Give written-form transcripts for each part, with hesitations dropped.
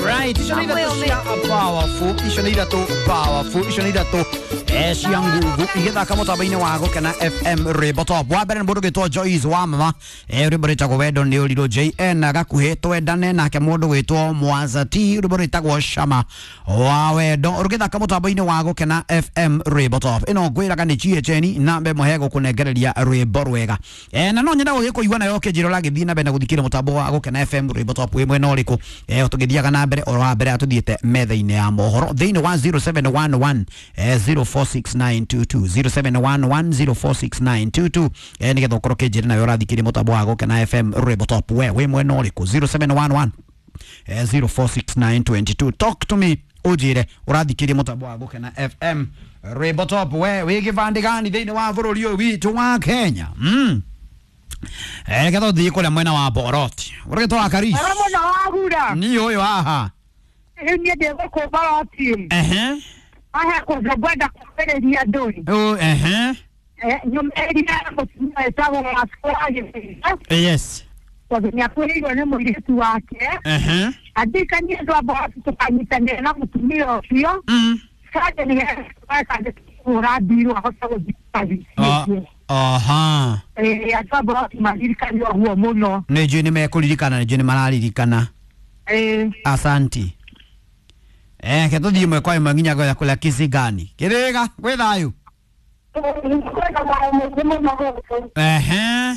Right, icio nä ithatå cia powerful, icio nä ithatå powerful, icio nä ithatå cia nguvu igĩthaka mũtambo-inĩ wa Gũkena FM rwĩmbo top. Wa mbere nĩ mũndũ gwĩtwo Joyce wa mama, rwĩmbo rwĩtagwo Wendo nĩ ũrirũ JN gakuhĩ twendane, nake mũndũ gwĩtwo Mwanza T rwĩmbo rwĩtagwo Shama wa Wendo rũgĩthaka mũtambo-inĩ wa Gũkena FM rwĩmbo top. Ĩno ngwĩraga nĩ GHN na mbe mũhe gũkũnengereria rwĩmbo rwega. Na no nyenda gũgĩkũigua nayo ũkĩnjĩra ũragĩthiĩ na mbere na gũthikĩrĩria mũtambo wa Gũkena FM rwĩmbo top wĩ mwena ũrĩkũ. Tũgĩthiaga na mbere oro wa mbere atũthiĩte metha-inĩ ya mohoro thĩinĩ wa 0711 046922 0711 046922 nĩgetha ũkorwo ũkĩnjĩra nawe ũrathikĩrĩria mũtambo wa Gũkena FM rwĩmbo top we wĩ mwena ũrĩkũ 0711 046922. Talk to me ũnjĩre ũrathikĩrĩria mũtambo wa Gũkena FM rwĩmbo top we wĩ gĩbandĩ gani thĩinĩ wa bũrũri ũyũ witũ wa Kenya. Reke tũthiĩ kũrĩa mwena wa Boroti ũrĩgĩtwo Karis Ara mũno wagura ni ũyũ haha. Rĩu niĩ ndĩ gũkũ Boroti. Ehe. Haha kũndũ ngwenda kwambĩrĩria andũ. Oh, ehe. Nyũmĩrĩria mũtumia wĩtagwo Wasco wa Gĩthĩnja Yes. tondũ nĩ akuĩrĩirwo nĩ mũirĩtu wake. Ehe. Andirikanie andũ a Boroti tũkanyitanĩra na mũtumia ũcio. Sande nĩgetha kũhũra mbirũ ahote gũthiĩ Ah, aha. Andũ a Boroti maririkane ũguo mũno. Nĩ njũĩ nĩ mekũririkana, nĩ njũĩ nĩ mararirikana. Asanti. Ke tũthiĩ ĩmwe kwa ĩmwe nginya goya kũrĩa Kisigani. Kĩrĩga, gwĩ thayũ. Kwĩna thayũ mũingĩ mũno gũkũ. Ehe.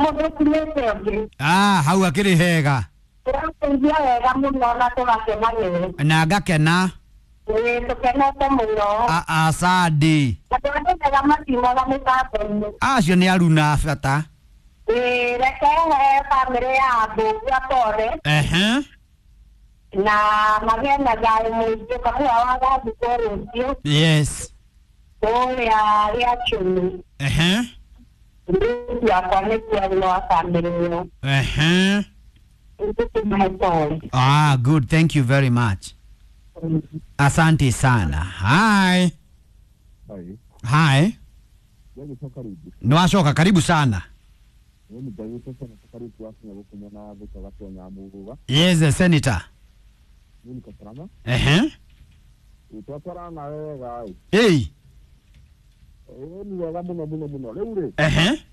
Mũthũkiĩte ũngĩ. Ah, hau akĩrĩ hega. Tũrateithia wega mũno na tũgakena. Na ngakena. Ĩĩ, tũkenete mũno. Asandi. Andũ arĩa mega matiumaga mĩtambo-inĩ. Acio nĩ aruna bata. Ĩĩ, reke he bamĩrĩ ya Mbũgua pole Ehe. na magĩe na thayũ mũingĩ kabura wa gathikwo rũciũ Yes. kũrĩa Gĩachũmi. Ehe. Mũirĩtu wakwa nĩkuo wa bamĩrĩ ĩyo. Ehe. Ithuĩ tũmahe pole. Ah, good. Thank you very much. Asante sana. Hi. Hai, Hi. ndagĩcoka rĩngĩ. Nĩwacoka, karibu sana. Nĩ ndagĩcoka na karibu wakinya gũkũ mwena wa Thika Gatonya Muruga. Yes, the senator. Niĩ niko salama. Ehe. Twatwarana nawe wega ĩ. Hey. Ĩ nĩ wega mũno mũno mũno. Rĩu rĩ, Ehe.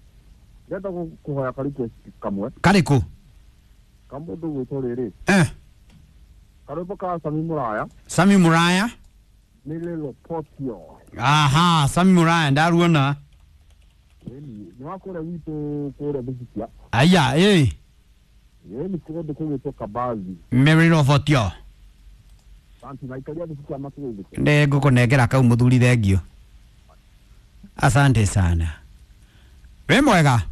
ndĩrenda kũhoya ka request kamwe Kariku. ka mũndũ gwĩtwo rĩrĩ. Eh. Karwĩmbo ka Sami Muraya Sami Muraya. nĩ Lelo Potio. Aha, Sami Muraya ndaruona. Ĩni nĩ wa kũrĩa gwitũ kũrĩa Thibithia. Aya, eh. Ĩni kũndũ kũgwĩtwo Kabazi. Mary Robotio. Santi na ikaria Thibithia makĩgũithĩte. Nĩ ngũkũnengera kau mũthuri thengio. Asante sana. Wĩ mwega?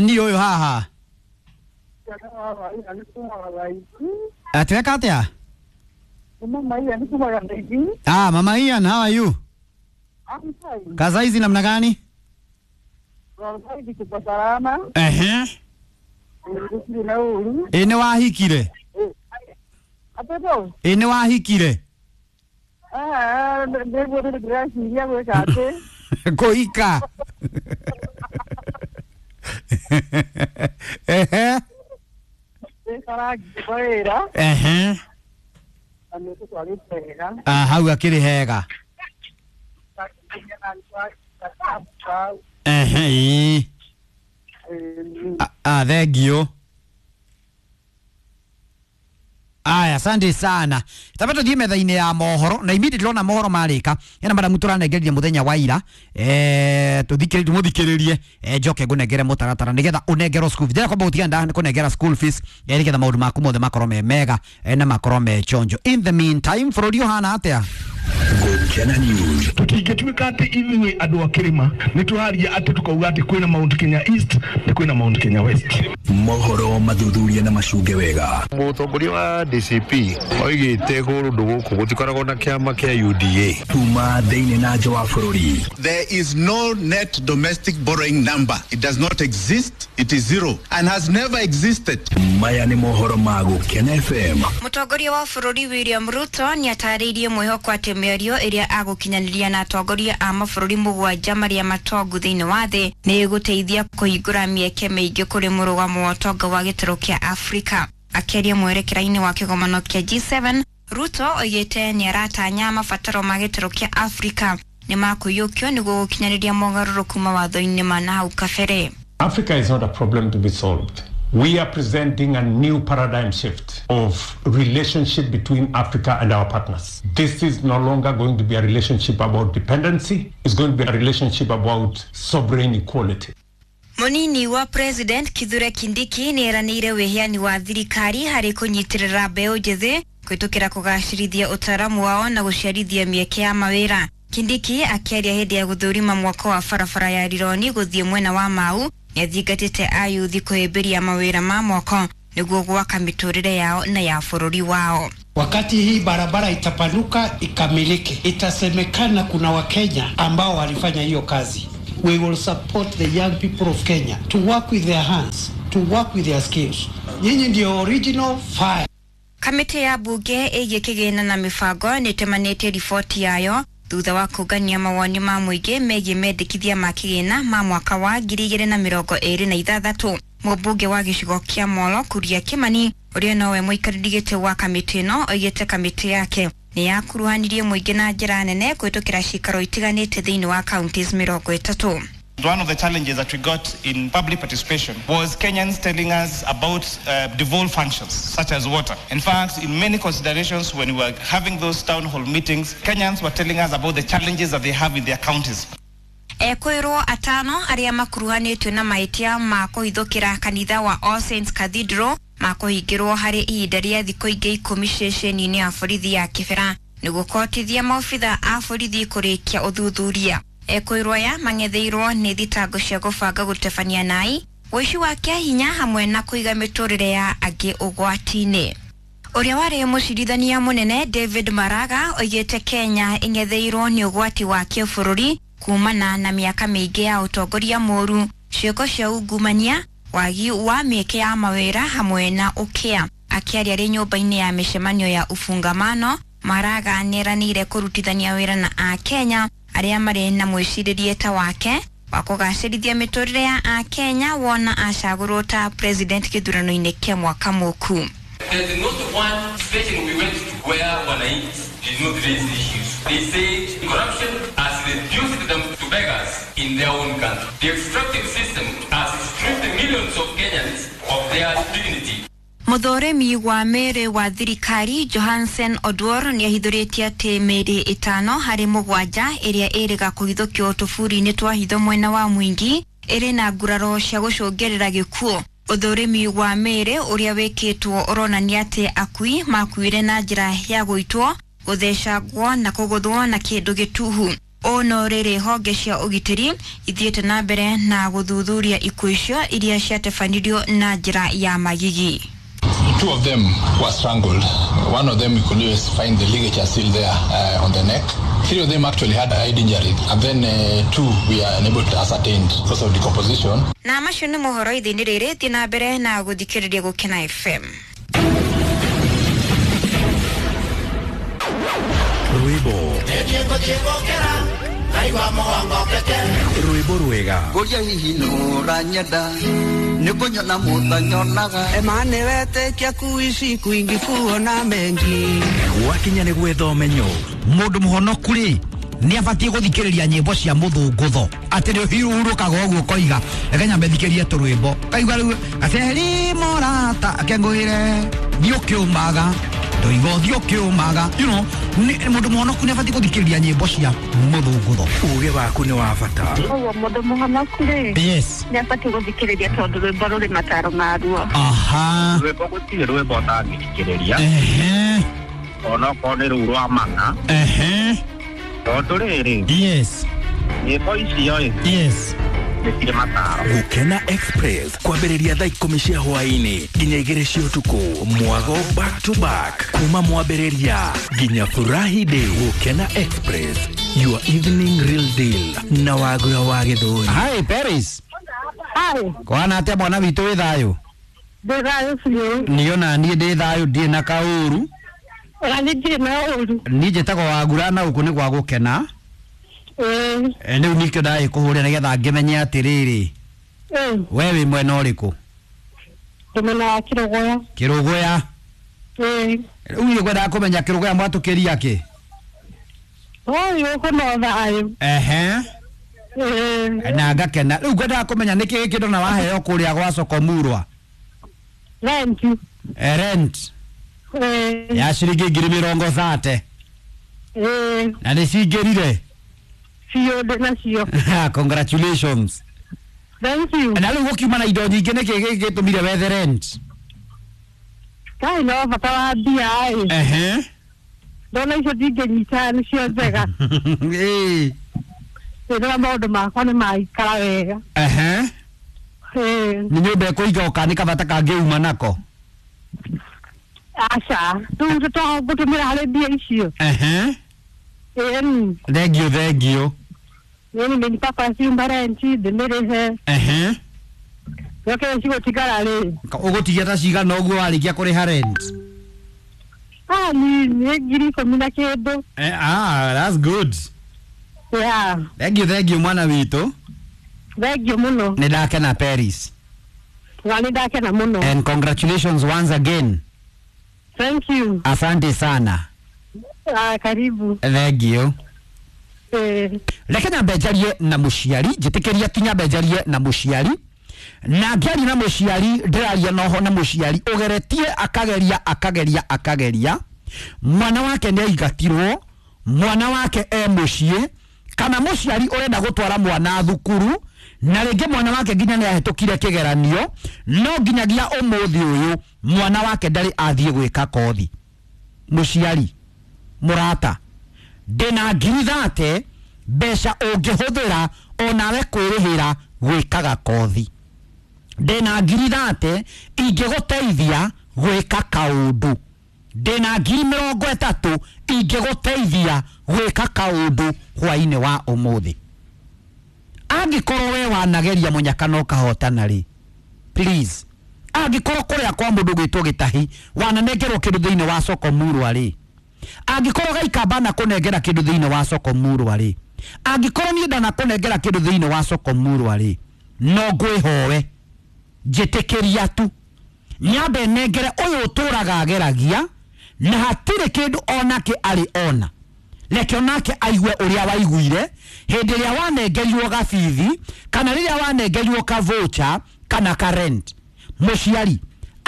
Ni ũyũ haha. Atweka atĩa? Ah, Mama Ian, how are you? Kaza hizi namna gani? Ehe. Ĩ nĩ wahikire? Ĩ nĩ wahikire? Kũhika. Ehe. Ehe. Ah, hau akĩrĩ hega. Ehe, ĩĩ. Ah, thengio. Aya, asante sana. Taba tuthiĩ metha-inĩ ya mohoro na immediately ona mohoro marĩka ena madamu tũranengereria mũthenya wa ira, tũmũthikĩrĩrie, njoke ngũnengere mũtaratara nĩgetha ũnengerwo school fees. Ndĩrenda kwamba gũtiga nda kũnengera school fees, nĩgetha maũndũ maku mothe makorwo me mega, na makorwo me chonjo. In the meantime, bũrũri ũhana atĩa? Gũkena News. Tũtingĩtuĩka atĩ ithuĩ andũ a kĩrĩma nĩ tũraria atĩ tũkauga atĩ kwĩna Mount Kenya East na kwĩna Mount Kenya West. Mohoro mathuthuria na macunge wega. Mũtongoria wa DCP oigĩte kũndũ gũkũ gũtikoragwo na kĩama kĩa UDA. Kuma thĩinĩ na nja wa bũrũri. There is no net domestic borrowing number. It does not exist. It is zero and has never existed. Maya nĩ mohoro ma Gũkena FM. Mũtongoria wa bũrũri William Ruto nĩatarĩirie mwĩhoko atĩ mĩario ĩrĩa agũkinyanĩria na atongoria a mabũrũri 7 marĩa matongu thĩinĩ wa thĩ nĩ ĩgũteithia kũhingũra mĩeke mĩingĩ kũrĩ mũrũgamo wa ũtonga wa gĩtarũ kĩa Afrika. Akĩaria mwerekera-inĩ wa kĩgomano kĩa G7, Ruto oigĩte nĩaratanya mabataro ma gĩtarũ kĩa Afrika nĩ makũiyũkio nĩguo gũkinyanĩria mogarũrũku mawatho-inĩ ma nahau kabere. Africa is not a problem to be solved. We are presenting a new paradigm shift of relationship between Africa and our partners. This is no longer going to be a relationship about dependency. It's going to be a relationship about sovereign equality. Munini wa President Kithure Kindiki nĩeranĩire wĩheani wa thirikari harĩ kũnyitĩrĩra mbeũ njĩthĩ kũhĩtũkĩra kũgacĩrithia ũtaaramu wao na gũciarithia mĩeke ya mawĩra. Kindiki akĩaria hĩndĩ ya gũthũrima mwako wa barabara ya Rironi gũthiĩ mwena wa Mau nĩathingatĩte ayuthi kũhĩmbĩria mawĩra ma mwako nĩguo gwaka mĩtũrĩre yao na ya bũrũri wao. Wakati hii barabara itapanuka ikamilike, itasemekana kuna Wakenya ambao walifanya hiyo kazi. We will support the young people of Kenya to work with their hands, to work with their skills. Nyinyi ndio original fire. Kamĩtĩ ya mbunge ĩgiĩ kĩgĩna na mĩbango nĩĩtemanĩtie riboti yayo thutha wa kũngania mawoni ma mũingĩ megiĩ mendekithia ma kĩgĩna ma mwaka wa 2026. Mũmbunge wa gĩcigo kĩa Molo Kuria Kimani ũrĩa nowe mũikarĩri gĩtĩ wa kamĩtĩ ĩno oigĩte kamĩtĩ yake nĩ yakuruhanirie mũingĩ na njĩra nene kũhĩtũkĩra cikaro itiganĩte thĩinĩ wa counties 30. One of the challenges that we got in public participation was Kenyans telling us about devolved functions such as water. In fact, in many considerations when we were having those town hall meetings, Kenyans were telling us about the challenges that they have in their counties. Ekwĩrwo atano arĩa makuruhanĩtio na mahĩtia ma kũhithũkĩra kanitha wa All Saints Cathedral makũhingĩrwo harĩ ihinda rĩa thikũ ingĩ 10 ceceni-inĩ ya borithi ya Kibera nĩguo kũhotithia maobitha a borithi kũrĩkia ũthuthuria. Ekwĩrwo aya mang'etheirwo nĩ thitango cia gũbanga gũtebania nai, ũici wa kĩahinya hamwe na kũiga mĩtũrĩre ya angĩ ũgwati-inĩ. Ũrĩa warĩ mũcirithania mũnene David Maraga oigĩte Kenya ĩng'etheirwo nĩ ũgwati wa kĩbũrũri kumana na mĩaka mĩingĩ ya ũtongoria mũru, ciĩko cia ungumania, wagi wa mĩeke ya mawĩra hamwe na ũkĩa. Akĩaria arĩ nyũmba-inĩ ya mĩcemanio ya ufungamano, Maraga nĩeranĩire kũrutithania wĩra na Akenya arĩa marĩ na mwĩcirĩrie ta wake wa kũgacĩrithia mĩtũrĩre ya Akenya wona acagũrwo ta president gĩthurano-inĩ kĩa mwaka mũku. There's not one station we went to where wananchi did not raise issues. They said corruption has reduced them to beggars in their own country. The extractive system has stripped millions of Kenyans of their dignity. Mũthũrimi wa mĩĩrĩ wa thirikari Johansen Oduor nĩahithũrĩtie atĩ mĩĩrĩ 5 harĩ 7 ĩrĩa ĩrĩga kũhithũkio tũburi-inĩ twa hitho mwena wa Mwingi ĩrĩ na nguraro cia gũcũngĩrĩra gĩkuũ. Ũthũrimi wa mĩĩrĩ ũrĩa wĩkĩtwo ũronania atĩ akui makuire na njĩra ya gũitwo, gũthecangwo na kũgũthwo na kĩndũ gĩtuhu. Ũũ no rĩrĩ honge cia ũgitĩri ithiĩte na mbere na gũthuthuria ikuũ icio iria ciatebanirio na njĩra ya magigi. Two of them were strangled. One of them you could always find the ligature still there on the neck. Three of them actually had head injury, and then two we are unable to ascertain because of decomposition. Na macio nĩ mohoro ithĩinĩ rĩrĩ, thiĩ na mbere na gũthikĩrĩria Gũkena FM. Rwĩmbo rwĩmbo rwega Ngũria hihi nũranyenda nĩkũnyona mũtanyonaga Emane wetĩkia kuishi kwingi kuona mengi gwakinya nĩ gwetha ũmenyo. Mũndũ mũhonoku rĩ nĩ abatiĩ gũthikĩrĩria nyĩmbo cia mũthũngũtho atĩ nĩ ũhurũkaga ũguo ũkoiga reke nyambe thikĩrie tũrwĩmbo kaigua rĩu gaceri mũrata akengũĩre thiĩ ũkĩũmaga ndoiga ũthiĩ ũkĩũmaga, you know, mũndũ mũhonoku nĩ abatiĩ gũthikĩrĩria nyĩmbo cia mũthũngũtho. Ũgĩ waku nĩ wa bata. Ũguo mũndũ mũhonoku rĩ, yes, nĩ abatiĩ gũthikĩrĩria tondũ rwĩmbo rũrĩ mataro maruo. Aha, rwĩmbo gũtirĩ rwĩmbo ũtangĩthikĩrĩria, ehe, onokorwo nĩ rũu rwa mana, ehe, tondũ rĩrĩ, yes, nyĩmbo icio ĩ, yes, nĩ cirĩ mataro. Gũkena Express kwambĩrĩria thaa 10 cia hwaĩ-inĩ nginya 2 cia ũtukũ, mwago back to back kuma mwambĩrĩria nginya furahi day. Gũkena Express, your evening real deal na Wagura wa Gĩthũri. Hi Paris. Hi. Kwana atia mwana witũ wĩ thayũ? Ndĩ thayũ biũ. Niĩ ona niĩ ndĩ thayũ ndirĩ na kaũru. Ona niĩ ndirĩ na ũru. Niĩ njĩtagwo Wagura na gũkũ nĩ gwa gũkena. Ĩĩ. Rĩu nĩkĩo ndagĩkũhũrĩra nĩgetha ngĩmenye atĩrĩrĩ. Ĩĩ. We wĩ mwena ũrĩkũ? Ndĩ mwena wa Kĩrũgũya. Kĩrũgũya. Ĩĩ. Rĩu niĩ ngwendaga kũmenya Kĩrũgũya mwatũkĩria kĩ? Ũyũ gũkũ no thayũ. Ehe. Ĩĩ. Na ngakena. Rĩu ngwendaga kũmenya nĩkĩ gĩkĩ ndona waheo kũrĩa gwa Sokomurwa? Rent. Rent. Ĩĩ. Ya ciringi 30,000. Ĩĩ. Na nĩ cingĩrire? Biũ ndĩ nacio. Congratulations. Thank you. Na rĩu gũkiuma na indo nyingĩ nĩkĩ gĩkĩ gĩtũmire wethe rent? Kaĩ no bata wa mbia ĩ. Ehe. Ndona icio ndingĩnyita nĩcio njega. Ĩĩ. Ndĩrona maũndũ makwa nĩ maikara wega. Ehe. Ĩĩ. Nĩ nyũmba ĩkũiga ũka nĩ kabata kangĩuma nako? Aca. Rĩu tũgũtũmĩra harĩ mbia icio. Ehe. Ĩĩ. Thengiũ thengiũ. Nĩ nimepaka nyumba rent ndĩmĩrĩhe. Ehe. Yoke cigũtigara rĩ. Ũgũtigia ta cigana ũguo warĩkia kũrĩha rent? Ah, ni 10,000 na kĩndũ. Ah, that's good. Yeah. Thengiũ thengiũ mwana witũ. Thengiũ mũno. Nĩ ndakena Paris. Na nĩ ndakena mũno. And congratulations once again. Thank you. Asante sana. Ah, karibu. Thengiũ. Reke nyambe njarie na mũciari, njĩtĩkĩria tu nyambe njarie na mũciari. Na ngĩaria na mũciari ndĩraria noho na mũciari ũgeretie akageria akageria akageria. Mwana wake nĩ aingatirwo, mwana wake e mũciĩ, kana mũciari ũrenda gũtwara mwana thukuru, na rĩngĩ mwana wake nginya nĩ ahĩtũkire kĩgeranio, no nginyagia ũmũthĩ ũyũ mwana wake ndarĩ athiĩ gwĩka kothi. Mũciari, mũrata, ndĩna 30,000 mbeca ũngĩhũthĩra onawe kwĩrĩhĩra gwĩkaga kothi. Ndĩna 30,000 ingĩgũteithia gwĩka kaũndũ. Ndĩna 30,000 ingĩgũteithia gwĩka kaũndũ hwainĩ wa ũmũthĩ. Angĩkorwo we wanageria mũnyaka na ũkahotana rĩ, please, angĩkorwo kũrĩa kwa mũndũ gwĩtwo Gĩtahi wananengerwo kĩndũ thĩinĩ wa Sokomurwa rĩ, angĩkorwo Gaikamba na kũnengera kĩndũ thĩinĩ wa Sokomurwa rĩ, angĩkorwo niĩ ndanakũnengera kĩndũ thĩinĩ wa Sokomurwa rĩ, no ngwĩhoe njĩtĩkĩria tu nyambe nengere ũyũ ũtũraga ageragia na hatirĩ kĩndũ onake arĩ ona. Reke onake aigue ũrĩa waiguire hĩndĩ ĩrĩa wanengerirwo gabithi kana rĩrĩa wanengerirwo ka voucher kana ka rent. Mũciari,